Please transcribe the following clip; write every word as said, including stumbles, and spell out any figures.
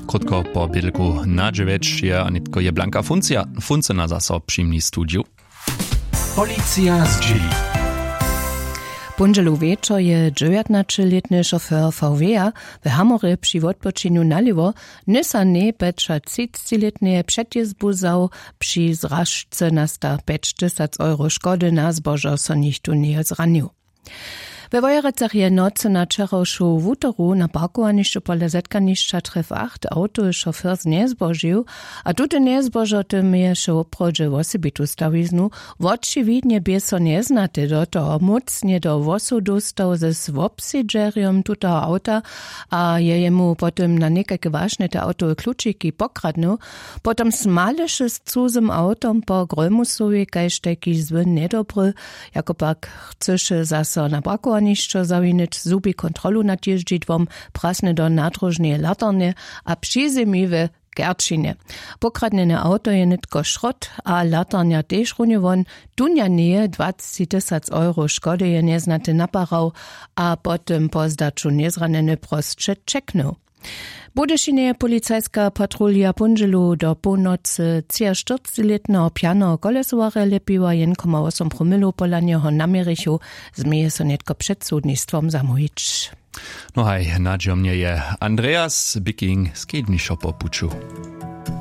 Krótko po bědlku na dźewjeć je a nětko je blanka funcija funcyna zaso při mni studiju. Policija zdźěli. Póndźelu wječor je dźewjatnaćelětny šofér V W-a w Hamorje při wotpočinju nalěwo nysa njepjećatřiclětneje předjězbu wzał. Při zražce nasta pjećtysac euro škody, na zbožo so nichtó njeje zranił. We Wojerecach je nocy na wčerawšu wutoru na parkowanišću pola zetkanišća tref acht awtowy šofér njezbožił, a tute njezbožo tym měješe woprawdźe wosebitu stawiznu. Wočiwidnje bě so njeznate do toho mócnje do włosow dóstał z wobsedźerjom tutoho awta a je jemu po tym na někajke wašnje te awtowe klučiki pokradnył. Potom smaleše z cuzym awtom po grólmusowej kaž tajki zły njedobry. Jako pak chcyše zaso na parkowanišćo zawinić zhubi kontrolu nad jězdźidłom, prasny do nadróžneje latarnje a přizemi we kerčinje. Pokradnjene awto je nětko šrot a latarnja tež runje won. Dunja njeje dwacci tysac euro škody je njeznaty naparał a po tym po zdaću njezranjeny prosće ćeknył. W budyšinje je policajska patrulja póndźelu do połnocy třiaštyrclětneho pjanoho kolesowarja lěpiła jen koma wosom promilow pola njeho naměrichu. Změje so nětko před sudnistwom zamołwić. No haj nadźijomnje je andreas biking skednišo po puću.